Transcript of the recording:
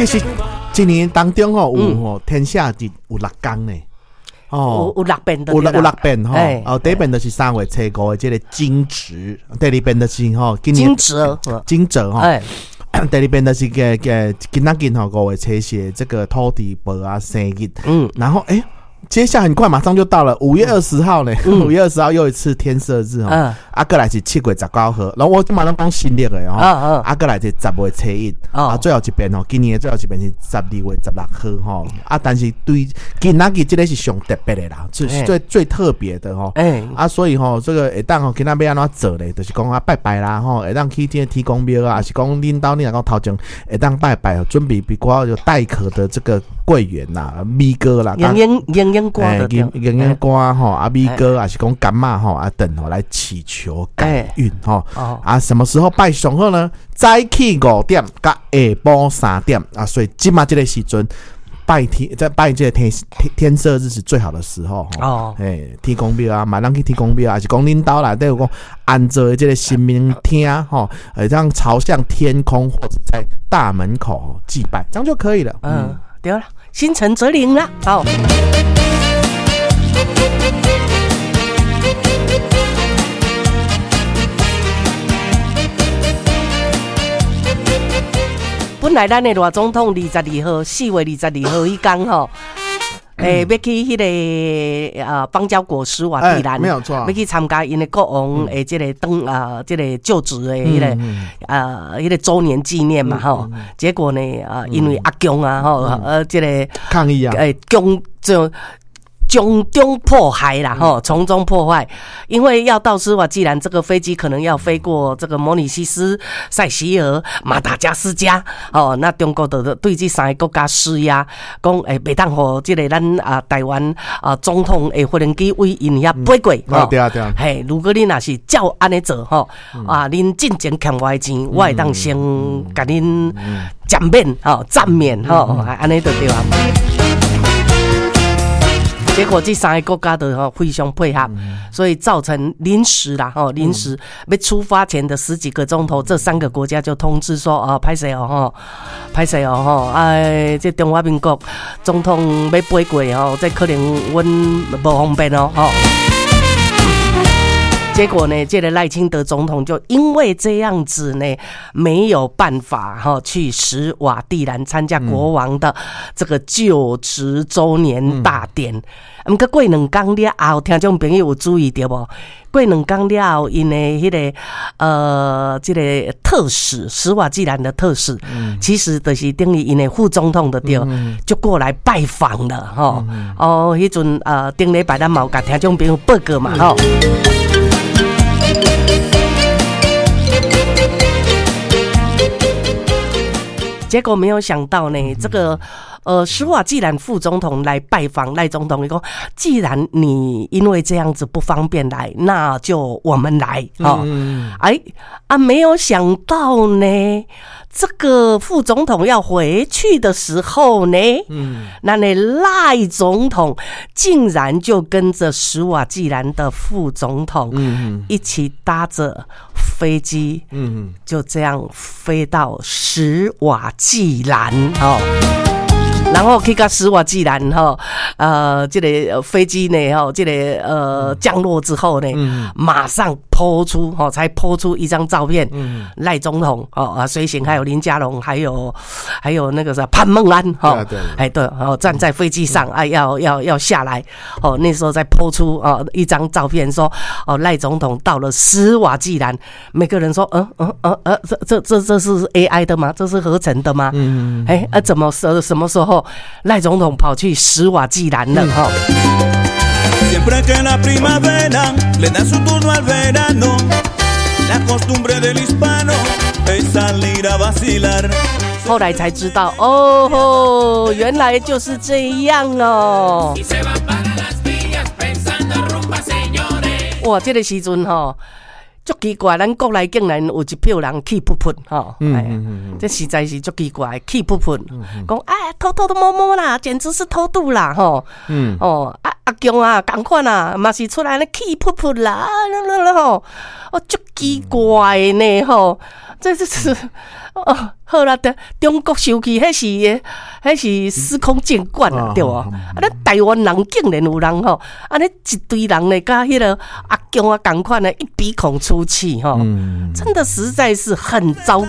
其實一年當中吼有吼天赦日有六工呢。哦，有六遍，有六遍吼。哦，第一遍就是3月初5的這個驚蟄，第二遍就是吼今年驚蟄，驚蟄吼。第二遍就是個個今仔日吼5月初4的這個土地婆啊生日。然後接下來很快，馬上就到了5月20號呢。5月20號又一次天赦日吼。啊，過來是7月19號，然後我這馬攏講新曆的吼。啊，過來是10月初1，啊，最後一遍吼，今年的最後一遍是12月16號吼。啊，但是對今仔日這個是上特別的啦，最最最特別的吼。啊，所以吼，這個會當吼，今仔欲按怎做咧？就是講啊，拜拜啦吼，會當去這個天公廟啊，還是講恁兜你若講頭前會當拜拜，準備比較有帶殼的這個桂圓啦、米糕啦、鷹鷹瓜的，鷹鷹瓜吼，啊米糕，還是講柑仔吼，啊等吼來祈求改運吼。啊，什麼時候拜上好呢？早起5點佮下晡3點啊，所以這馬這個時陣拜天，在拜這個天赦日是最好的時候哦。天公廟啊，嘛通去天公廟，還是講恁兜內底有講安做的這個神明廳吼，這樣朝向天空或者在大門口祭拜，這樣就可以了。嗯，對了，心誠則靈啦，好。本來咱的賴總統22號，4月22號彼工吼，欲去彼個邦交國史瓦帝蘭，沒有錯，欲去參加𪜶的國王的這個登這個就職的彼個彼個週年紀念嘛吼。結果呢因為阿共啊吼，這個抗議啊，共就從中破壞啦，吼，從中破壞，因為要到斯瓦濟蘭，這個飛機可能要飛過這個摩里西斯、塞西爾、馬達加斯加，哦，那中國就對這三个國家施壓，講袂當予這個咱啊台灣啊總統的飛行機對𪜶遐飛過，哦，對啊對啊，嘿，如果你若是照按呢做，吼，啊，恁進前欠我的錢，我會當先共恁減免，吼，暫免，吼，按呢就對啊。結果這三個國家都非常配合，所以造成臨時啦，吼，臨時欲出發前的十幾個鐘頭，這三個國家就通知說，哦，歹勢哦，吼，歹勢哦，吼，哎，這中華民國總統欲飛過，吼，這可能阮無方便哦，吼。結果呢，這個賴清德總統就因為這樣子呢，沒有辦法哈去史瓦帝蘭參加國王的這個就職週年大典。毋過過兩工了後，聽眾朋友有注意著無？過兩工了後，𪜶的彼個這個特使，史瓦濟蘭的特使，其實就是等於𪜶的副總統就對，就過來拜訪了吼。哦，彼陣頂禮拜咱嘛有共聽眾朋友報告嘛吼。結果沒有想到呢，這個史瓦濟蘭副總統來拜訪賴總統，伊講，既然你因為這樣子不方便來，那就我們來，哦，哎啊，沒有想到呢，這個副總統要回去的時候呢，那賴總統竟然就跟着史瓦濟蘭的副總統，一起搭着飛機，就這樣飛到史瓦濟蘭，哦。然後去到史瓦濟蘭吼，這個飛機呢，吼，這個降落之後呢，馬上拋出吼，才拋出一張照片，賴總統哦啊，隨行還有林佳龍，還有那個啥潘孟安吼，哎對，哦站在飛機上啊，要下來，哦那時候再拋出哦一張照片，說哦賴總統到了史瓦濟蘭，每個人說，這是 AI 的嗎？這是合成的嗎？哎啊怎麼什麼時候賴總統跑去史瓦濟蘭了？哈。 Siempre que la primavera le da su turno al verano, la costumbre del hispano es salir a vacilar. 後來才知道，哦吼，原來就是這樣哦。哇，這個時陣吼，足奇怪，咱國內竟然有一票人氣噗噗吼，這實在是足奇怪，氣噗噗，講哎偷偷的摸摸啦，簡直是偷渡啦吼，哦啊阿共啊，仝款啊，嘛是出來咧氣噗噗啦，吼，哦足奇怪呢吼，這是。哦，好啦，對，中國生氣，彼是司空見慣啊，對無？啊，咱台灣人竟然有人吼，按呢一堆人咧，佮彼个阿共啊仝款的，一鼻孔出氣吼，真的實在是很糟糕。